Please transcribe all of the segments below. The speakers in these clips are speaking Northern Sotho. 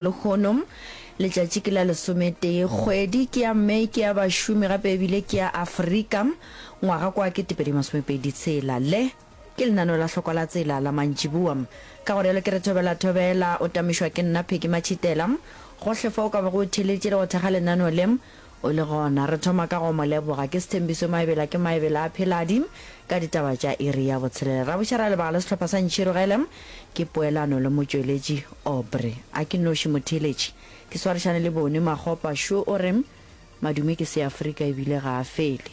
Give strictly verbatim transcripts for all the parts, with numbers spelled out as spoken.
Lehono letšatši ke la lesometee kgwedi ke ya May ke ya bašomi gape ebile ke ya Afrika ngwaga kwa ketepedi masomepedi tshela. Le ke lenaneo la hlokwa la tsela la mantšiboa. Ka go rialo ke re thobela thobela o tamišwa ke nna Peggy Matšhitela. Gohle fa o ka bago o theeleditše le go thekga lenaneo le o le gona. Re thoma ka go mo leboga ke Sethembiso Maebela ke Maebela a Pheladi ka ditaba tša iri ya botshelela. Ra buša ra leboga le sehlopha sa Ntšhirogele ke poelano le motšweletši Aubrey. A ke noši motheeletši ke swarišane le Boni Makgopa šo o re madume ke Seafrika ebile ga a fele.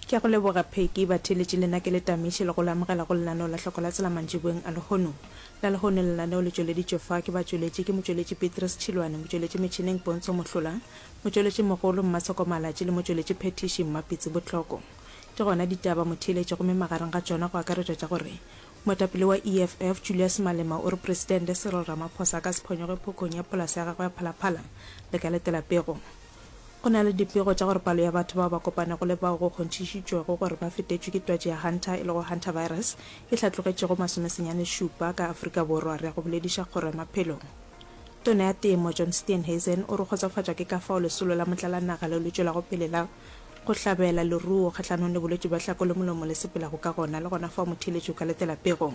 Ke a go leboga Peggy, batheeletši le nna ke le tamiše le go le amogela go lenaneo la Hloko la Tsela mantšiboeng a lehono. La lehono lenaneo le tšweleditšwe fa ke batšweletši ke motšweletši Petrus Tšhilwane, motšweletši metšhineng Pontsho Mohlola, motšweletši mogolo Mmatsheko Malatši le motšweletši phethiši Mmapitsi Botlhoko. Ke gona ditaba motheeletši gomme magareng ga tšona go akaretšwa tša gore moetapele wa E F F Julius Malema o re Presidente Cyril Ramaphosa a ka se phonyokge phokong ya polase ya gagwe ya Phalaphala le ka letela pego. Go na le dipego tša gore palo ya batho bao ba kopanego le bao go kgonthišitšwego gore ba fetetšwe ke twatši ya Hanta e lego hantavirus e hlatlogetše go masomesenyane šupa ka Afrika Borwa. Re ya go bolediša Kgoro ya Maphelo. Tona ya Temo John Steenhuisen o re kgotsofatšwa ke ka fao lesolo la motlalanaga leo le tšwelago pele la go hlabela leruo kgahlanong le bolwetši bja hlako le molomo le sepelago ka gona le gona fao motheeletši o ka letela pego.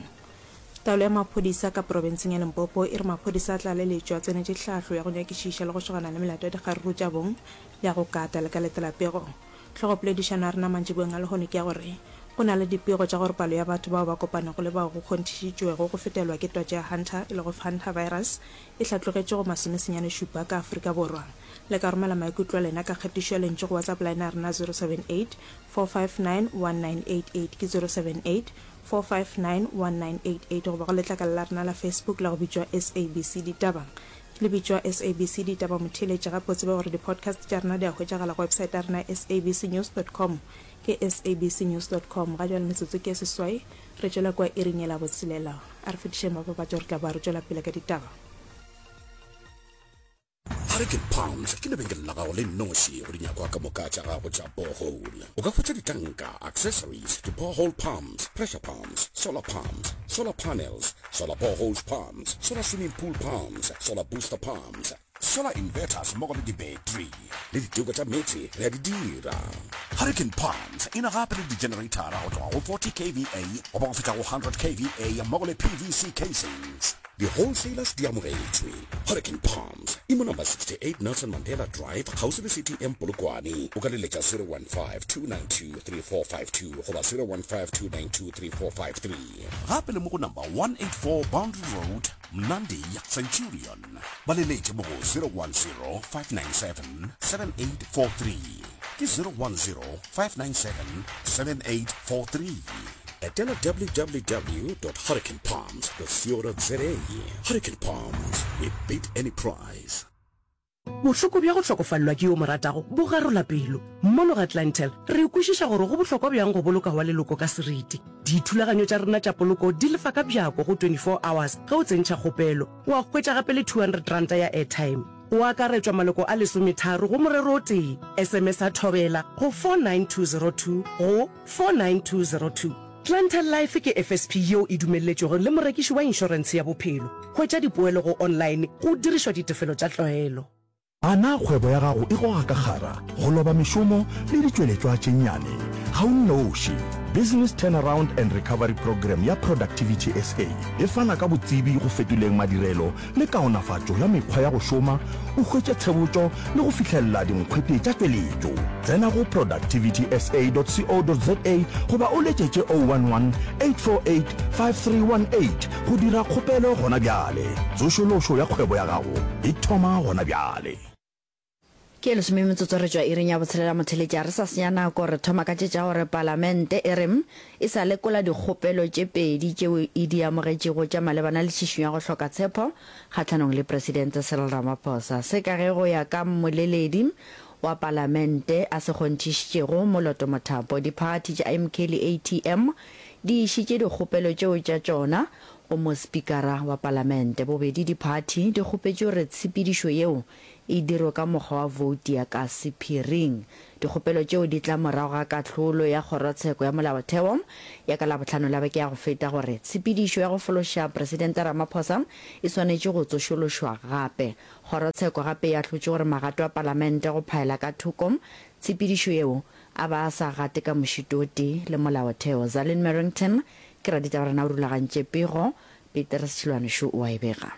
Taolo ya maphodisa ka profenseng ya Limpopo e re maphodisa a tlaleletšo a tsenetše tlhahlo ya go nyakišiša le go šogana le melato ya dikgaruru tša bong le ya go kata le ka letela pego. Hlogopoledišano ya rena mantšiboeng a lehono ke ya gore go na le dipego tša gore palo ya batho bao ba kopanego le bao go kgonthišitšwego go fetelwa ke twatši ya Hanta e lego hantavirus e hlatlogetše go masomesenyane šupa ka Afrika Borwa. Le ka romela maikutlo a lena ka kgatišo ya lentšu go WhatsApp line ya rena zero seven eight, four five nine, one nine eight eight ke zero seven eight, four five nine, one nine eight eight goba go letlakala la rena la Facebook la go bitšwa S A B C Ditaba. Le bitšwa S A B C Ditaba motheeletši gape o tsebe gore di-podcast tša rena di a hwetšagala go website ya rena S A B C news dot com ke S A B C news dot com. Ga jwale metsotso ke e seswai re tšwela kua iring ye la botshelela. A re fetišeng mapapatšo re tla boa re tšwela pele ka ditaba. Hurricane Palms ke lebenkele la gago le nnoši go dinyakwa ka moka tša gago tša borehole. O ka hwetša ditanka, accessories, di-borehole pumps, pressure pumps, solar pumps, solar panels, solar boreholes pumps, solar swimming pool pumps, solar booster pumps, solar inverters mmogo le di-battery le diteko tša meetse re a di dira. Hurricane Palms e na gape le di-generator go tloga go forty K V A goba go fihla go hundred K V A mmogo le P V C casings. Di-wholesalers di amogetšwe. Hurricane Palms e mo number sixty-eight Nelson Mandela Drive kgauswi le C T M Polokwane. O ka leletša zero one five, two nine two, three four five two goba zero one five, two nine two, three four five three. Gape le mo go number one eight four Boundary Road, Mnandi, Centurion. Ba leletše mo go zero one zero, five nine seven, seven eight four three. Ke zero one zero, five nine seven, seven eight four three. Etela w w w dot hurricane palms dot co dot za. Hurricane Palms, we beat any price. Bohloko bja go hlokofalelwa ke yo o mo ratago bo garola pelo. Mono ga Clientele, re kwešiša gore go bohlokwa bjang go boloka wa leloko ka seriti. Dithulaganyo tša rena tša poloko di lefa ka bjako go twenty-four hours ge o tsentšha kgopelo. Wa hwetša gape le two hundred ranta ya airtime. Go akaretšwa maloko a lesometharo go morero o tee. S M S a thobela go four nine two zero two go four nine two zero two. Clientele Life ke F S P yeo e dumelletšwego le morekiši wa inšorentshe ya bophelo. Hwetša dipoelo go online go dirišwa ditefelo tša tlwaelo. A na kgwebo ya gago e goga ka kgara, go loba mešomo le ditšweletšwa tše nnyane? Ga o nnoši. Business Turnaround and Recovery Programme ya Productivity S A e fana ka botsebi go fetoleng madirelo le kaonafatšo ya mekgwa ya go šoma, o hwetše tshebotšo le go fihlelela dinkgwete tša tšweletšo. Tsena go productivity S A dot co dot za goba o letšetše oh one one, eight four eight, five three one eight go dira kgopelo gona bjale. Tsošološo ya kgwebo ya gago e thoma gona bjale. Ke lesome metsotso re tšwa iring ya botshelela motheletši a re sa senya nako re thoma ka tše tša gore palamente e re e sa lekola dikgopelo tše pedi tšeo e di amogetšego tša malebana le tšhišinyo ya go hloka tshepo kgahlanong le Presidente Cyril Ramaphosa. Se ka ge go ya ka mmoleledi wa palamente a se kgonthišitšego Moloto Mothapo, diphathi tša M K le A T M di išitše dikgopelo tšeo tša tšona go mospikara wa palamente. Bobedi diphathi di kgopetše gore tshepedišo yeo e dirwe ka mokgwa wa vouti ya ka sephiring. Dikgopelo tšeo di tla morago ga kahlolo ya Kgorotsheko ya Molaotheo ya ka Labohlano la beke ya go feta gore tshepedišo ya go fološa Presidente Ramaphosa e swanetše go tsošološwa gape. Kgorotsheko gape e ahlotše gore magato a Palamente go phaela ka thoko tshepedišo yeo a ba a sa gate ka mošito o tee le Molaotheo. Zalin Merrington ke raditaba rena o rulagantše pego, Petrus Tšhilwane šo o a e bega.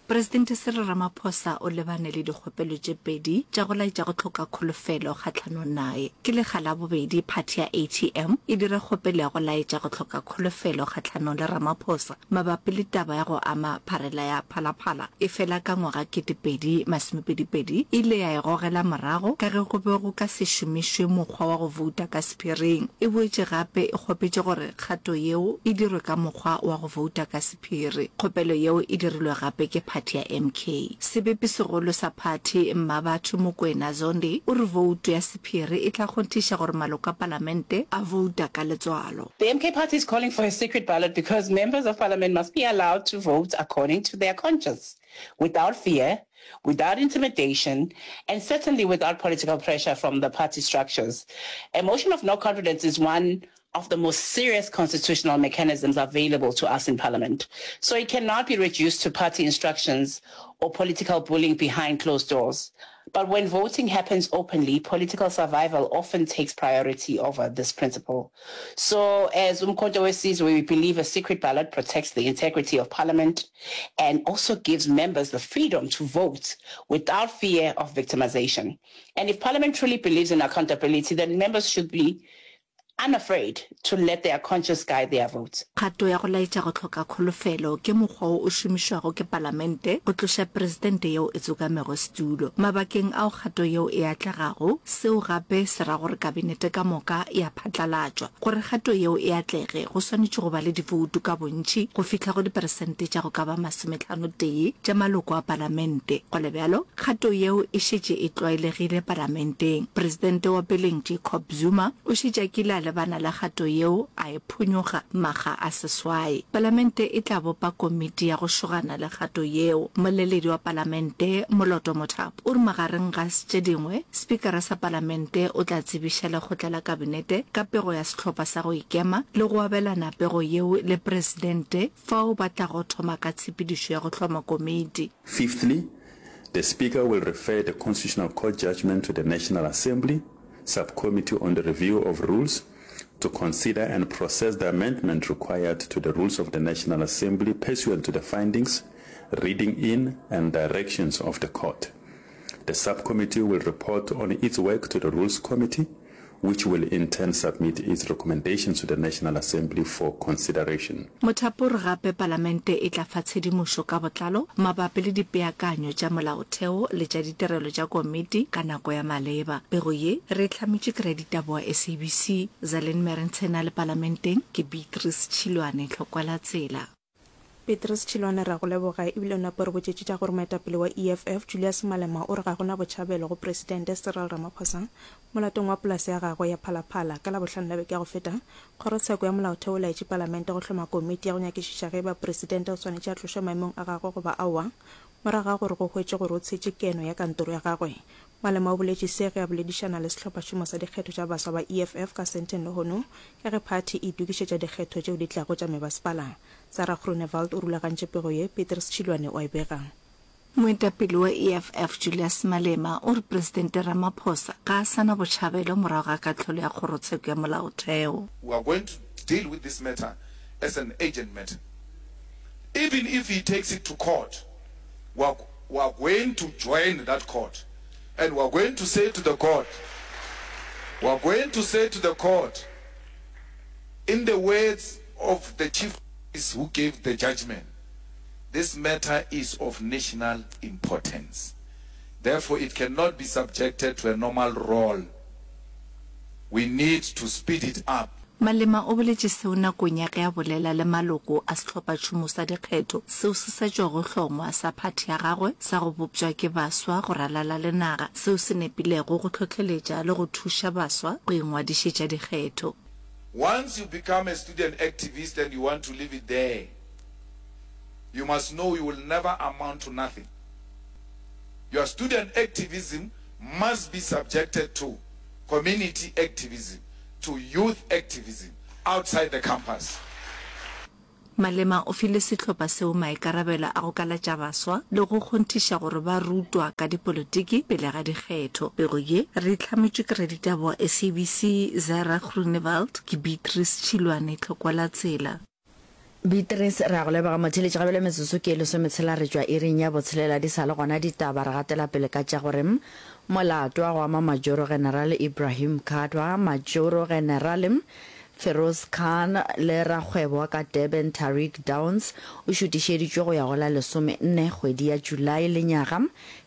Presidente Cyril Ramaphosa o lebane le dikgopelo tše pedi tša go laetša go hloka kholofelo kgahlanong naye. Ke lekga la bobedi phathi ya A T M e dira kgopelo ya go laetša go hloka kholofelo kgahlanong le Ramaphosa mabapi le taba ya go ama pharela ya Phalaphala, efela ka ngwaga kete pedi masomepedi pedi e ile ya e gogela morago ka ge go be go ka se šomišwe mokgwa wa go vouta ka sephiring. E boetše gape e kgopetše gore kgato yeo e dirwe ka mokgwa wa go vouta ka sephiri. Kgopelo yeo e dirilwe gape ke phathi ya M K. Sebepi-segolo sa phathi, Mmabatho Mokoena Zondi, o re vouto ya sephiri e tla kgonthiša gore maloko a palamente a vouta ka letswalo. The M K party is calling for a secret ballot because members of parliament must be allowed to vote according to their conscience, without fear, without intimidation, and certainly without political pressure from the party structures. A motion of no confidence is one of the most serious constitutional mechanisms available to us in parliament. So it cannot be reduced to party instructions or political bullying behind closed doors. But when voting happens openly, political survival often takes priority over this principle. So as Umkhonto weSizwe, we believe a secret ballot protects the integrity of parliament and also gives members the freedom to vote without fear of victimization. And if parliament truly believes in accountability, then members should be unafraid to let their conscience guide their vote. Kgato ya go laetša go hloka kholofelo ke mokgwa wo o šomišwago ke palamente go tloša presidente yeo e tsokamego setulo. Mabakeng ao kgato yeo e atlegago, seo gape se ra gore kabinete ka moka e a phatlalatšwa. Gore kgato yeo e atlege, go swanetše go ba le divoutu ka bontši go fihla go diperesente tša go ka ba masometlhano-tee tša maloko a palamente. Go le bjalo, kgato yeo e šetše e tlwaelegile palamenteng. Presidente wa peleng Jacob Zuma o šetše a kile a lebana le kgato yeo a e phonyokga makga a seswai. Palamente e tla bopa komiti ya go šogana le kgato yeo. Mmoleledi wa Palamente, Moloto Mothapo, o re magareng ga tše dingwe, Spikara sa Palamente o tla tsebiša lekgotla la Kabinete ka pego ya sehlopha sa go ikema le go abelana pego yeo le Presidente fao ba tlago thoma ka tshepedišo ya go hloma komiti. Fifthly, the Speaker will refer the Constitutional Court judgment to the National Assembly Subcommittee on the Review of Rules to consider and process the amendment required to the rules of the National Assembly pursuant to the findings, reading in and directions of the court. The subcommittee will report on its work to the Rules Committee, which will in turn submit its recommendations to the National Assembly for consideration. Mothapo o re gape Palamente e tla fa tshedimošo ka botlalo mabapi le dipeakanyo tša molaotheo le tša ditirelo tša komiti ka nako ya maleba. Pego ye re e hlametšwe ke raditaba wa S A B C, Zalin Merentshena le Palamenteng ke Beatrice Tšhilwane, Tlhokwalatsela. Petrus Tšhilwane, re a go leboga ebile o nape re botšetše tša gore moetapele wa E F F Julius Malema o re ga gona botšhabelo go Presidente Cyril Ramaphosa molatong wa polase ya gagwe ya Phalaphala. Ka Labohlano la beke ya go feta, Kgorotsheko ya Molaotheo o laetše Palamente go hloma komiti ya go nyakišiša ge eba Presidente o swanetše a tlošwe maemong a gagwe goba aowa, morago ga gore go hwetšwe gore o tshetše keno ya kantoro ya gagwe. Malema o boletše se ge a boledišana le sehlophašomo sa dikgetho tša baswa ba E F F ka Sandton lehono ka ge phathi e itokišetša dikgetho tšeo di tlago tša mebasepala. Sarah Groenewald o rulagantše pego ye, Petrus Tšhilwane o a e bega. Moetapele wa E F F Julius Malema o re Presidente Ramaphosa ga a sa na botšhabelo morago ga kahlolo ya Kgorotsheko ya Molaotheo. We are going to deal with this matter as an urgent matter. Even if he takes it to court, we are, we are going to join that court. And we are going to say to the court, we are going to say to the court, in the words of the chief who gave the judgment, this matter is of national importance. Therefore, it cannot be subjected to a normal role. We need to speed it up. Malema o boletše seo nakong ya ge a bolela le maloko a sehlophatšhomo sa dikgetho seo se sa tšwago hlongwa sa phathi ya gagwe sa go bopša ke baswa go ralala le naga seo se nepilego go hlohleletša le go thuša baswa go ingwadišetša dikgetho. Once you become a student activist and you want to leave it there, you must know you will never amount to nothing. Your student activism must be subjected to community activism, to youth activism outside the campus. Malema o file sehlopha seo maikarabelo a go kalatša baswa le go kgonthiša gore ba rutwa ka dipolotiki pele ga dikgetho. Pego ye re e hlametšwe ke raditaba wa SABC Zara Groenewald, ke Beatrice Tšhilwane, Tlokwa la Tsela. Beatrice, Re a go leboga motheeletši. Ga bjale metsotso ke e lesometshela re tšwa iring ya botshelela di sa le gona ditaba. Re gatela pele ka tša gore molato wa go ama Majoro Generale Ibrahim Kadwa, Majoro Generale Feroz Khan le rakgwebo wa ka Durban Tariq Downs o šutišeditšwe go ya go la lesome nne kgwedi ya July lenyaga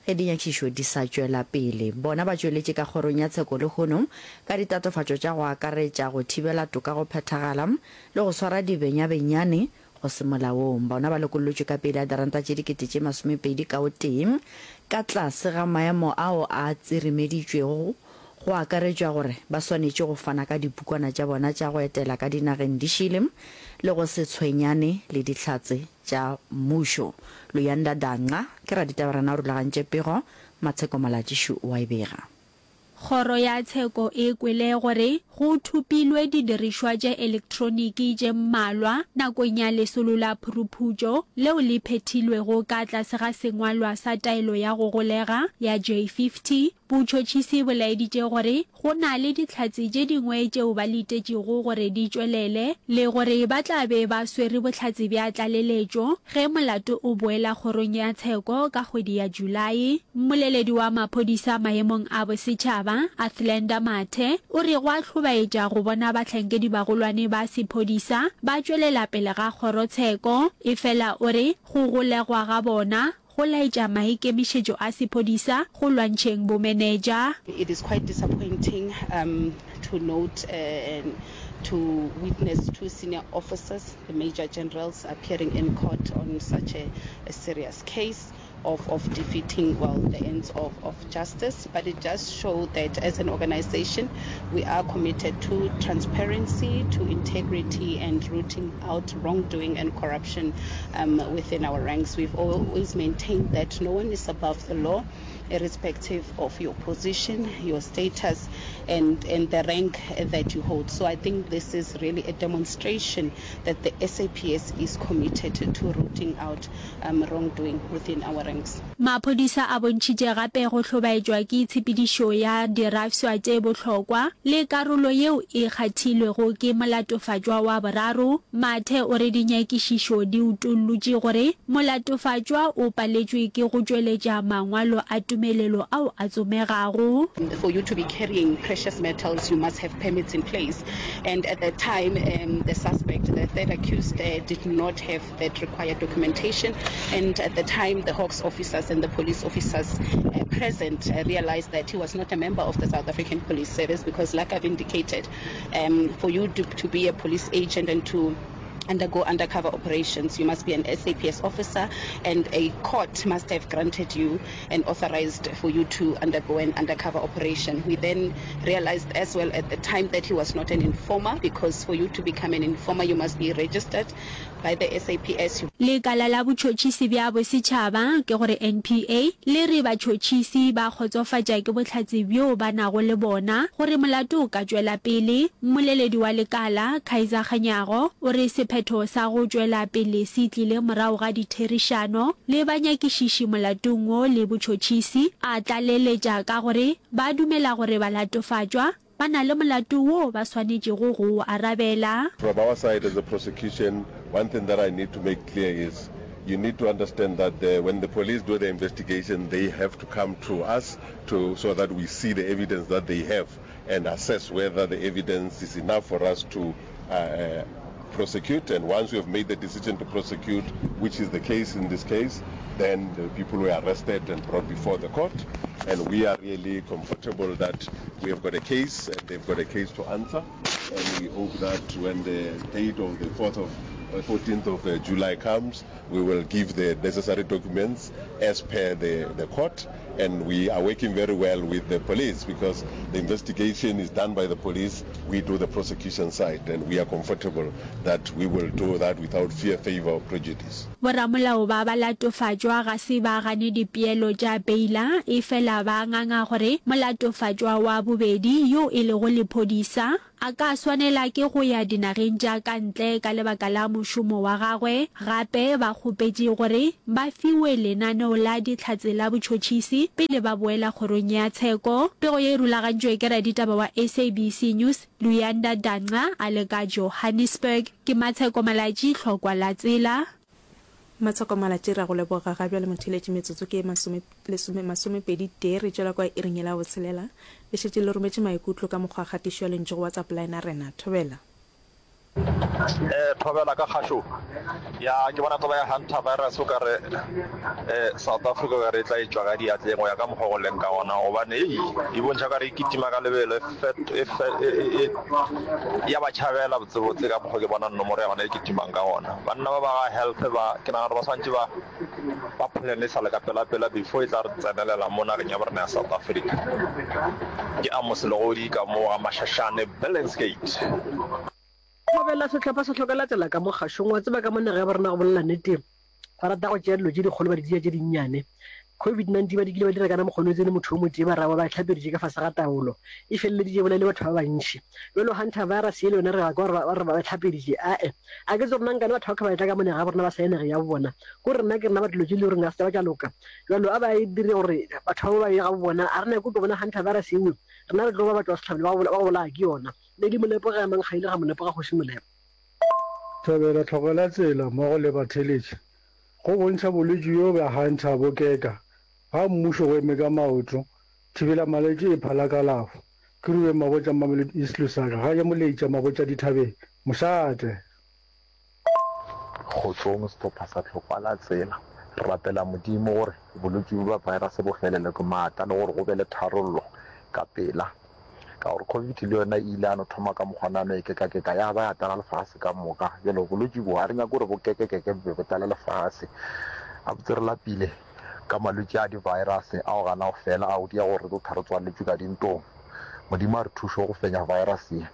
ge dinyakišišo di sa tšwela pele. Bona ba tšweletše ka kgorong ya tsheko lehono ka ditatofatšo tša go akaretša go thibela toka go phethagala le go swara dibenyabenyane go se molaong. Bona ba lokollotšwe ka peile ya diranta tše dikete tše masomepedi ka o tee ka tlase ga maemo ao a tsirimeditšwego go akaretšwa gore ba swanetše go fana ka dipukwana tša bona tša go etela ka dinageng di šele le go se tshwenyane le Dihlatse tša Mmušo. Luyanda Danca ke raditaba rena o rulagantše pego, Matsheko Malatšišu o a e bega. Kgoro ya tsheko e kwele gore go thopilwe didirišwa tša elektroniki tše mmalwa nakong ya lesolo la phuruphutšo leo le phethilwego ka tlase ga sengwalwa sa taelo ya go golega ya J fifty Botšhotšhisi bo laeditše gore go na le dihlatse tše dingwe tšeo ba letetšego gore di tšwelele le gore ba tla be ba swere bohlatse bja tlaleletšo ge molato o boela kgorong ya tsheko ka kgwedi ya Julae. Mmoleledi wa maphodisa maemong a bosetšhaba, Athlenda Mathe, o re go a hlobaetša go bona bahlankedibagolwane ba sephodisa ba tšwelela pele ga kgorotsheko, efela o re go golegwa ga bona go laetša maikemišetšo a sephodisa go lwantšheng bomenetša. It is quite disappointing um to note and to witness two senior officers, the Major Generals, appearing in court on such a, a serious case of, of defeating, well, the ends of, of justice. But it does show that as an organization, we are committed to transparency, to integrity, and rooting out wrongdoing and corruption um, within our ranks. We've always maintained that no one is above the law, irrespective of your position, your status, and, and the rank that you hold. So I think this is really a demonstration that the S A P S is committed to rooting out um, wrongdoing within our ranks. Maphodisa a bontšhitše gape go hlobaetšwa ke tshepedišo ya dirafswa tše bohlokwa le karolo yeo e kgathilwego ke molatofatšwa wa boraro. Mathe o re dinyakišišo di utollotše gore molatofatšwa o paletšwe ke go tšweletša mangwalo a tumelelo ao a tsomegago. For you to be carrying precious metals, you must have permits in place. And at that time, um, the suspect, the third accused, uh, did not have that required documentation. And at the time, the Hawks officers and the police officers uh, present uh, realized that he was not a member of the South African Police Service because, like I've indicated, um, for you to, to be a police agent and to undergo undercover operations, you must be an S A P S officer and a court must have granted you and authorized for you to undergo an undercover operation. We then realized as well at the time that he was not an informer, because for you to become an informer, you must be registered by the S A P S. Lekala la Botšhotšhisi bja Bosetšhaba, ke gore N P A, le re batšhotšhisi ba kgotsofatša ke bohlatse bjo ba nago le bona gore molato o ka tšwela pele. Mmoleledi wa lekala, Kaizer Kganyago, o re sephetho sa go tšwela pele se tlile morago ga ditherišano le banyakišiši molatong wo le botšhotšhisi, a tlaleletša ka gore ba dumela gore balatofatšwa ba na le molato wo ba swanetšego go o arabela. From our side as a prosecution, one thing that I need to make clear is you need to understand that the, when the police do the investigation, they have to come to us to, so that we see the evidence that they have and assess whether the evidence is enough for us to uh, prosecute. And once we have made the decision to prosecute, which is the case in this case, then the people were arrested and brought before the court. And we are really comfortable that we have got a case and they've got a case to answer. And we hope that when the date of the fourth of fourteenth of July comes, we will give the necessary documents as per the, the court, and we are working very well with the police because the investigation is done by the police, we do the prosecution side, and we are comfortable that we will do that without fear, favor or prejudice. Boramolao ba balatofatšwa ga se ba gane dipeelo tša peila, efela ba nganga gore molatofatšwa wa bobedi, yo e lego lephodisa, a ka swanela ke go ya dinageng tša ka ntle ka lebaka la mošomo wa gagwe. Gape ba kgopetše gore ba fiwe lenaneo la Dihlatse la botšhotšhisi pele ba boela kgorong ya tsheko. Pego ye e rulagantšwe ke raditaba wa S A B C News, Luyanda Danca a le ka Johannesburg. Ke Matsheko Malatji, Hlokwa la Tsela. Matsheko Malatji, re a go leboga. Ga bjale motheeletši metsotso ke ye masome, lesome, masomepedi tee, re tšwela kwa iring yela ya botshelela. Le šetše le rometše maikutlo ka mokgwa wa kgatišo ya lentšu go WhatsApp line ya rena. Thobela. Eh, thobela ka kgašo. Ya, ke bona taba ya Hunter virus o ka re eh, South Africa o ka re e tla e tšwa ka diatleng go ya ka mokgwa go leng ka gona, gobane ei e bontšha ka re e kitima ka lebelo, e fet, e fe, e, e, e, ya ba tšhabela botsebotse ka mokgwa ke bona nomoro ya gona e kitimang ka gona. Banna ba ba ga health ba, ke nagana gore ba swantše ba ba plan e sa le ka pela-pela before e tla re tsenelela mo nageng ya borena ya South Africa. Ke Amos Legodi ka mo ga Mashashane, Billingsgate. Thobela, Sehlopha se hlokela tsela ka mo kgašong. Wa tseba ka mo naga ya borena go bolela nnete, ba rata go tšea dilo tše dikgolo ba di dira tše dinnyane. Covid nineteen ba dikile ba dira kana mokgwa o tsene motho o motee ba ra ba ba e hlapeditše ka fase ga taolo. E feleleditše e bolaile batho ba bantši. Bjalo Hunter virus ye le yona re ya kwa gore ba re ba e hlapeditše. Ae, a ke tsebe gore na nkane batho ba ka ba etla ka mo naga ya borena ba sa ye nageng ya bo bona. Ko re nna ke rena ba dilo tše le goreng ga se tša ba tša loka. Bjalo a ba e dire gore batho ba ba ye ga bo bona. A re nyake go tlo bona Hunter virus yeo. Rena re tlo ba batšwa sehlabelo ba go bolaya ke yona. Lady Molepo ge a mang ga ile ga Molepo ga Kgoši Molepo. Thobela tlhokela tsela mmogo le batheeletši go bontšha bolwetši bjo bja Hunter bo keka ga mmušo go eme ka maoto thibela malwetši e phala kalafo. Ke Ruben Mabotja Mamelodi East Lusaka ga ya Moleitša Mabotja Dithabeng Mošate. Kgotsong sehlopha sa Tlhokwa la Tsela. Re rapela Modimo gore bolwetši bjo bja virus bo felelwe ke maatla le gore go be le tharollo ka pela. Ka gore Covid le yona e ile ya no thoma ka mokgwa nano e kekakeka ya ba ya tlala lefase ka moka. Bjalo bolwetši bo ga re nyake gore bo kekekeke bo be bo tlale lefase. Gabotse re lapile ka malwetši a di-virus ao gana go fela ao di ya gore re tlo tha re tswaletšwe ka dintong. Modimo a re thuše go fenya virus ye.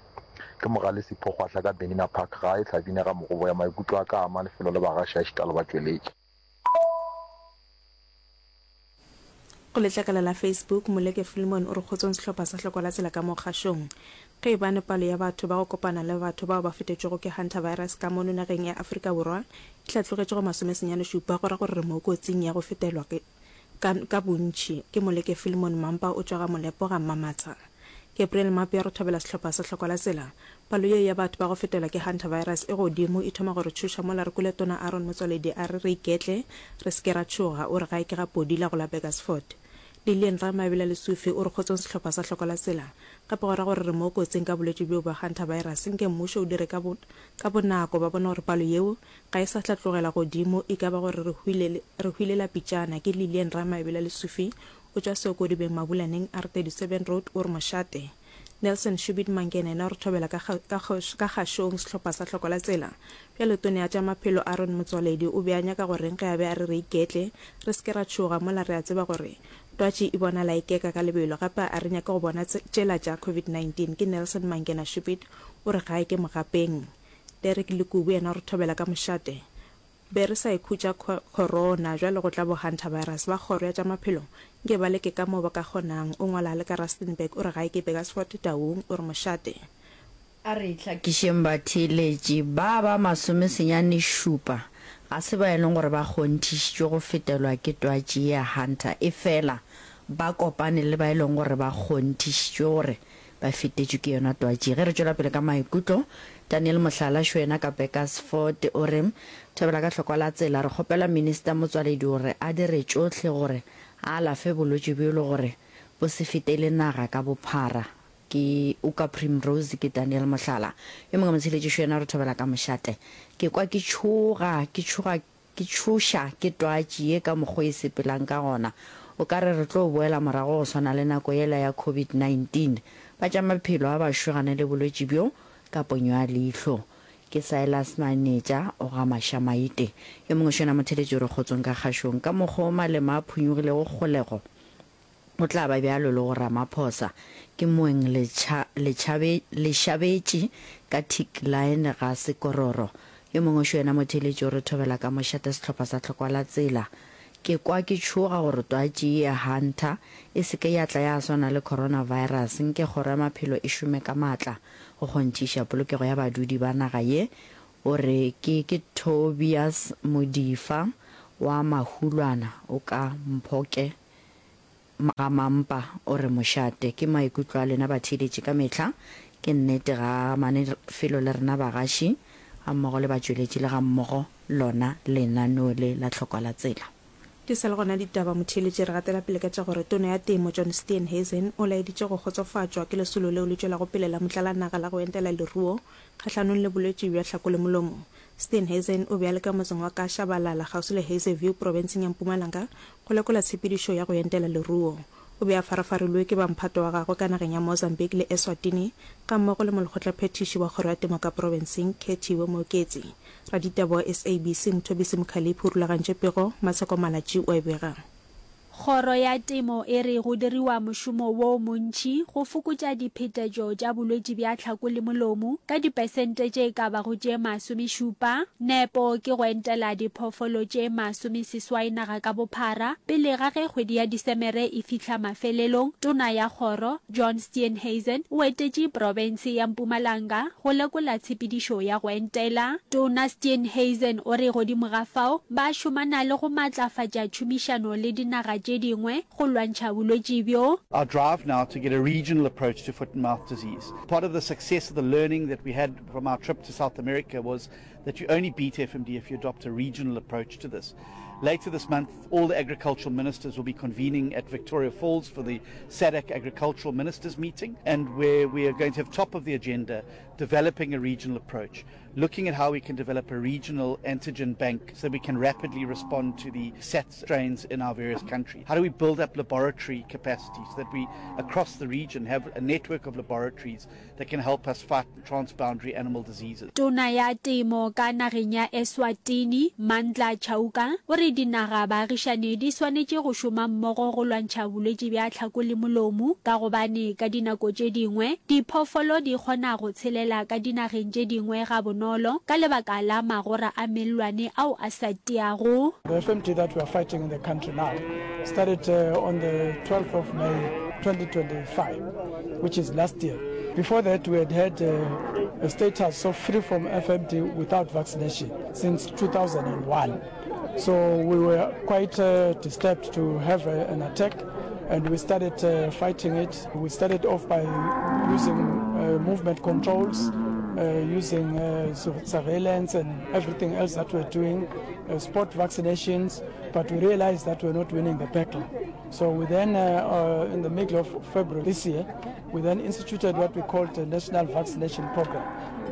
Ke Mogale Sipho Kgwahla ka Benina Park gae Hlabine ga Mogoboya maikutlo a ka a ama lefelo le bagaši a šita le batšweletši. Go letlakala la Facebook, Moleke Philemon o re kgotsong sehlopha sa Hlokwa la Tsela ka mo kgašong. Ge e bane palo ya batho ba go kopana le batho bao ba fetetšwego ke hantavirus ka mono nageng ya Afrika Borwa e hlatlogetše go masomesenyane šupa go ra gore re mo kotsing ya go fetelwa ke ka ka bontši. Ke Moleke Philemon Mampa o tšwa ga Molepo ga Mmamatsha. Gabriel Mapea re thobela sehlopha sa Hlokwa la Tsela. Palo ye ya batho ba go fetelwa ke hantavirus e godimo e thoma go re tšhoša mola re kwele Tona Aaron Motsoaledi a re re iketle re se ke ra tšhoga o re gae ke ga Podila go la Burgersfort. Lilian Ramaebela Lesufi o re kgotsong sehlopha sa Hlokwa la Tsela. Gape go ra gore re mo kotsing ka bolwetši bjo bja hantavirus nke mmušo o dire ka bo ka bonako ba bone gore palo yeo ga e sa hlatlogela godimo e ka ba gore re hwile re hwile la pitšana ke Lilian Ramaebela Lesufi o tšwa Seokodibeng Mabulaneng R thirty seven Road o re mošate. Nelson Shubit Mankene yena o re thobela ka ka ka kgašong sehlopha sa Hloko la Tsela. Bjale Tona ya tša Maphelo Aaron Motsoaledi o be a nyaka go reng ge a be a re re iketle re se ke ra tšhoga mola re a tseba gore twatši e bonala e keka ka lebelo gape a re nyake go bona tšela tša covid nineteen ke Nelson Mankena Shubit o re gae ke mogapeng. Derek Lekubu yena o re thobela ka mošate. Be re sa ikhutša khorona, bjale go tla bo hantavirus. Ba kgoro ya tša maphelo nke ba leke ka moo ba ka kgonang. O ngwala a le ka Rustenburg, o re gae ke Burgersfort, Taung, o re mošate. A re hlakišeng batheeletši ba ba masomesenyane šupa ga se ba e leng gore ba kgonthišitšwe go fetelwa ke twatši ye ya Hunter, efela ba kopane le ba e leng gore ba kgonthišitšwe gore ba fetetšwe ke yona twatši. Ge re tšwela pele ka maikutlo, Daniel Mohlala Šwena ka Burgersfort o re, Thobela ka hlokwa la tsela, re kgopela Minister Motswaledi gore a dire tšohle gore a alafe bolwetši bjo le gore bo se fetele naga ka bophara. Ke Uka Primrose ke Daniel Mohlala. Yo mongwe motsheletši Šwena o re thobela ka mošate. Ke kwa ke tšhoga, ke tšhoga Ke tšhoša ke twatši ye ka mokgo e sepelang ka gona. O ka re re tlo boela morago go swana le nako yela ya covid nineteen Ba tša maphelo a ba šogane le bolwetši bjo ka ponyo ya leihlo. Ke Silas Manetša o ga Mašamaite. Yo mongwe šona motheletši o re kgotsong ka kgašong. Ka mokgwa o Malema a phunyugilego kgolego go tla ba bjalo le go Ramaphosa. Ke moeng letšha, letšhabe, lešabetše ka tick line ga Sekororo. Yo mongwe šo yena motheletši o re thobela ka mošate sehlopha sa Tlhokwa la Tsela. Ke kwa ke tšhoga gore twatši ye ya Hunter e se ke ya tla ya swana le coronavirus. Nke Kgoro ya Maphelo e šome ka maatla go kgonthiša polokego ya badudi ba naga ye, o re ke ke Tobias Modifa wa Mahulwana o ka Mphoke ga Mampa o re mošate. Ke maikutlo a lena batheeletši ka mehla. Ke nnete ga mane felo le rena bagaši gammogo le batšweletši le gammogo lona lenaneo le la Tlhokwa la Tsela. Di sa le gona ditaba, motheeletši re gatela pele ka tša gore Tona ya Temo John Steenhuisen o laeditše go kgotsofatšwa ke lesolo leo le tšwelago pele la motlalanaga la go entela leruo kgahlanong le bolwetši bja hlako le molomo. Steenhuisen o be a le ka motseng wa Ka-Shabalala kgauswi le Hazyview profenseng ya Mpumalanga go lekola tshepedišo ya go entela leruo. O be a farafarilwe ke ba mphato wa gagwe ka nageng ya Mozambique le Eswatini gammogo le molekgotlaphethiši wa kgoro ya temo ka profenseng Khethiwe Mooketsi. Raditaba wa S A B C Mthobisi Mkhaliphi o rulagantše pego, Matsheko Malatji o a e bega. Kgoro ya Temo e re go diriwa mošomo wo montši go fokotša diphetetšo tša bolwetši bja tlhako le molomo ka dipesente tše ka bago tše masomešupa. Nepo ke go entela diphoofolo tše masomeseswai naga ka bophara pele ga ge kgwedi ya Disemere e fihla mafelelong. Tona ya kgoro, John Steenhuisen, o etetše profense ya Mpumalanga go lekola tshepedišo ya go entela. Tona Steenhuisen o re godimo ga fao ba šomana le go matlafatša tšhomišano le dinaga tše dingwe go lwantšha bolwetši bjo. Our drive now to get a regional approach to foot and mouth disease. Part of the success of the learning that we had from our trip to South America was that you only beat F M D if you adopt a regional approach to this. Later this month, all the agricultural ministers will be convening at Victoria Falls for the SADC Agricultural Ministers meeting, and where we are going to have top of the agenda developing a regional approach, looking at how we can develop a regional antigen bank so we can rapidly respond to the S A T strains in our various countries. How do we build up laboratory capacity so that we, across the region, have a network of laboratories that can help us fight transboundary animal diseases? Tona ya Temo ka nageng ya Eswatini, Mandla Chauka, o re dinaga baagišane di swanetše go šoma mmogo go lwantšha bolwetši bja tlhako le molomo ka gobane ka dinako tše dingwe diphoofolo di kgona go tshelela ka dinageng tše dingwe gabonolo ka lebaka la magora a mellwane ao a sa tiago. The F M D that we are fighting in the country now started, uh, on the twelfth of May twenty twenty-five, which is last year. Before that, we had had, uh, a status of free from F M D without vaccination since two thousand and one. So we were quite, uh, disturbed to have a, an attack, and we started, uh, fighting it. We started off by using, uh, movement controls, uh, using, uh, surveillance and everything else that we're doing, uh, spot vaccinations, but we realized that we're not winning the battle. So we then, uh, uh, in the middle of February this year, we then instituted what we called the National Vaccination Program,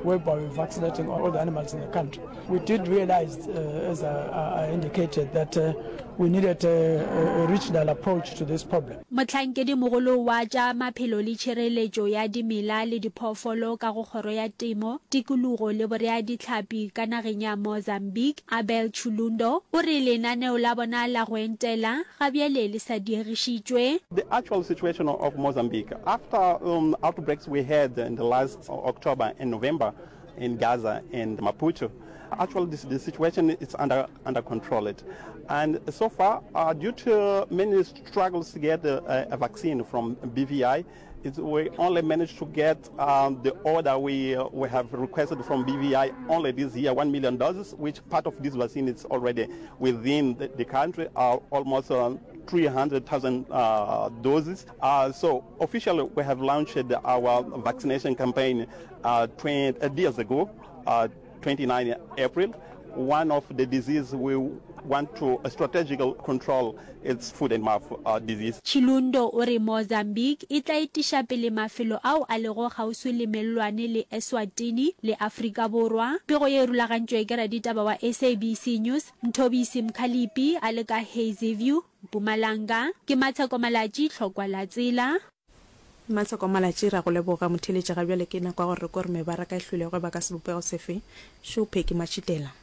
whereby we're vaccinating all the animals in the country. We did realize, uh, as I, I indicated, that, uh, we needed a, a, a regional approach to this problem. Mohlankedi mogolo wa tša maphelo le tšhireletšo ya dimela le diphoofolo ka go kgoro ya temo, tikologo le borea dihlapi ka nageng ya Mozambique, Abel Chulundo, o re lenaneo la bona la go entela ga bjale le sa diegišitšwe. The actual situation of Mozambique after, um, outbreaks we had in the last October and November in Gaza and Maputo, actually this, the situation is under, under control. It. And so far, uh, due to many struggles to get a, a, a vaccine from B V I, it's, we only managed to get, um, the order we, uh, we have requested from B V I only this year, one million doses, which part of this vaccine is already within the, the country, uh, almost, uh, three hundred thousand, uh, doses. Uh, so officially we have launched our vaccination campaign, uh, twenty, uh, years ago, uh, twenty-nine April. One of the diseases we want to strategical control is foot and mouth, uh, disease. Chilundo o re Mozambique e tla etiša pele mafelo ao a lego kgauswi le mellwane le Eswatini le Afrika Borwa. Pego ye e rulagantšwe ke raditaba wa S A B C News, Mthobisi Mkhalipi a le ka Hazyview, Mpumalanga. Ke Matsheko Malatji, Tlhokwa la Tsela. Maseko Malatši, ra go leboga motheeletši. Ga bjale ke nako ya gore re kwe gore mebaraka e hlwele go eba ka sebopego sefe. Šo Peggy Matšhitela.